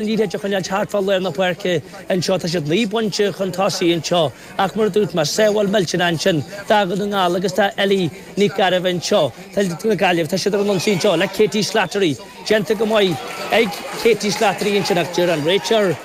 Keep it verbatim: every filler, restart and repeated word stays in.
Liathróid a choinneáil thart fá lár na páirce anseo tá siad naoi bpointe chun tosaigh anseo ach mar dúirt mé sábháil millteanach ansin do Dhún na nGall agus tá Ellie Nic Gairbh anseo Tá na Gaillimh tá siad ar an ionsaí anseo le Katie Slattery déanta go maith ag Katie Slattery ansin ach deir an réiteoir